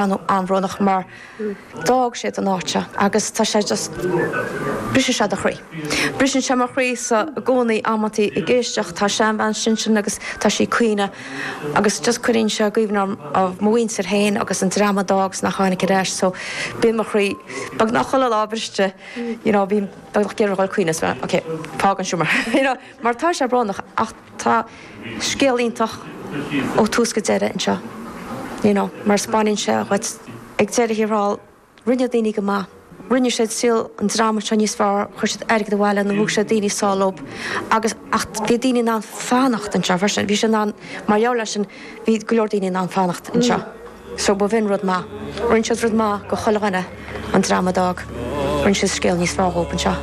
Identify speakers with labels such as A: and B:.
A: An-bhrónach mar d'fhág siad an áit seo agus tá sé just, briseann sé do chroí. Briseann sé mo chroí sa i gcónaí amantaí ag éisteacht, tá seanbhean ansin agus tá sí ag caoineadh agus just cuireann sé i gcuimhne orm of mo mhuintir féin agus an dream a d'fhág 's nach tháinig ar ais so bíonn mo chroí beagnach chuile lá briste you know bím beagnach ag iarraidh a dhul ag caoineadh so ok fág an seomra you know mar tá sé brónach ach Tá scéal iontach ó tús go deireadh anseo, you know, mar 'spáineann sé dhuit ag deireadh thiar thall, rinne daoine go maith, rinne siad saol an dreama seo níos fearr, chuir siad airgead abhaile nó thug siad daoine sall leo agus, ach bhí daoine in ann fanacht anseo freisin, bhí siad in ann, mar gheall air sin, bhí go leor daoine in ann fanacht anseo. So b'in rud maith. Rinne siad rud maith go chuile dhuine, an dream a d'fhág, rinne siad scéal níos fearr dhóibh anseo.